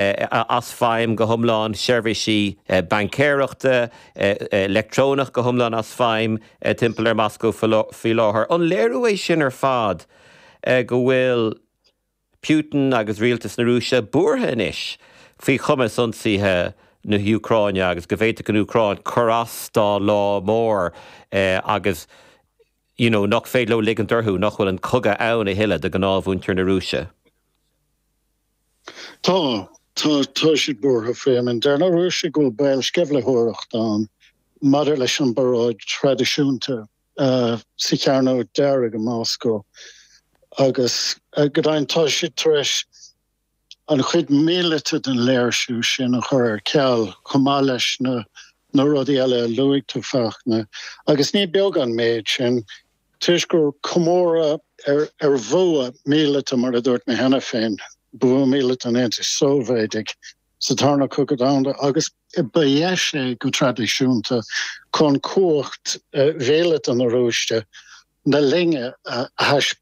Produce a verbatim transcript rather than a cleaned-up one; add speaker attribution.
Speaker 1: as feidhm go hiomlán seirbhísí baincéireachta leictreonach go hiomlán as feidhm timpeall ar Moscow faoi láthair. An léiriú é sin ar fad go bhfuil Putin agus rialtas na Rúise buartha anois faoi chumas ionsaithe na hÚcráine agus go bhféadfadh an Úcráin cur as dá lá mór agus you know, nach féidir leo ligean orthu nach bhfuil an cogadh ann a thuilleadh do ghnáthmhuintir na Rúise.
Speaker 2: Tá tá tá siad buartha faoi an deir na Rúisigh go bhfuil baol sceimhlitheoireacht ann maidir leis an bparáid traidisiúnta uh, sa Chearnóg Dearg i Moscow agus uh, go deimhin tá siad tar éis an chuid míleata den léirsiú sin a chur ar ceal chomh maith leis na na rudaí eile a luaigh tú Fachtna agus ní beag an méid sin toisc gur comóradh ar ar bhua míleata mar a dúirt mé cheana féin bua míleata an Aontais Sóivéadaigh sa Tarna Cogadh Domhanda agus ba dheis é go traidisiúnta chun cumhacht mhíleata na Rúise na linne a thaispeáint.